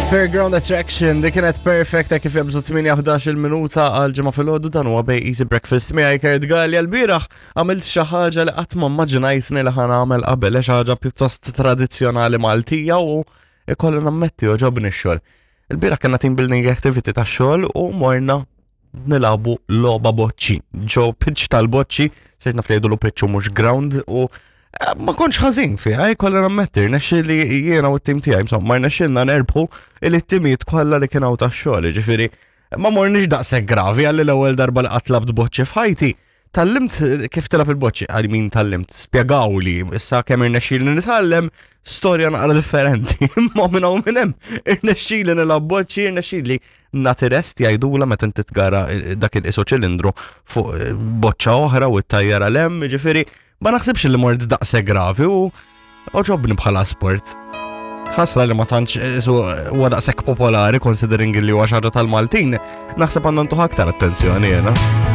Fairground Attraction, dik kienet perfect kif jabżu 8-11 minuta għal ġimgħa filgħodu dan huwa bej Easy Breakfast miegħi Kurt Gallia l-bieraħ għamilt xi ħaġa li qatt ma immaġinajtni li ħa nagħmel qabel xi ħaġa pjuttost tradizzjonali Maltija u ikolli nammetti oġobni x-xogħol. Il-bieraħ kellna team building activity tax-xogħol u morna nilagħbu logħba boċċi. Ġo pitch tal-boċċi, sejt naf li jgħidulu pitch u mhux ground u eh, ma kontx ħażin fiha, jkollha eh, nammetti, rnexxi li jiena u t-tim tiegħi, insomma, rnexxilna nerbħu il-timijiet kollha li kien hawn tax-xogħol, ġifieri ma morniex daqshekk gravi għalli l-ewwel darba li qatt labt boċċi f'ħajti. Tallimt kif tilab il-boċċi, għal min tallimt, spjegaw li, issa kemm irnexxili nitgħallem, storja naqra differenti, imma minn hawn minn hemm, irnexxili nilgħab boċċi, irnexxili nagħti rest jgħidula meta inti tgara eh, dak il-iso ċilindru fuq eh, boċċa oħra u t-tajjara lem, ġifieri ma naħsibx li mort daqse gravi u oġobni bħala sport. Ħasra li ma tantx eh, huwa daqshekk popolari considering li huwa xi ħaġa tal-Maltin, naħseb għandna ntuħ aktar attenzjoni jiena.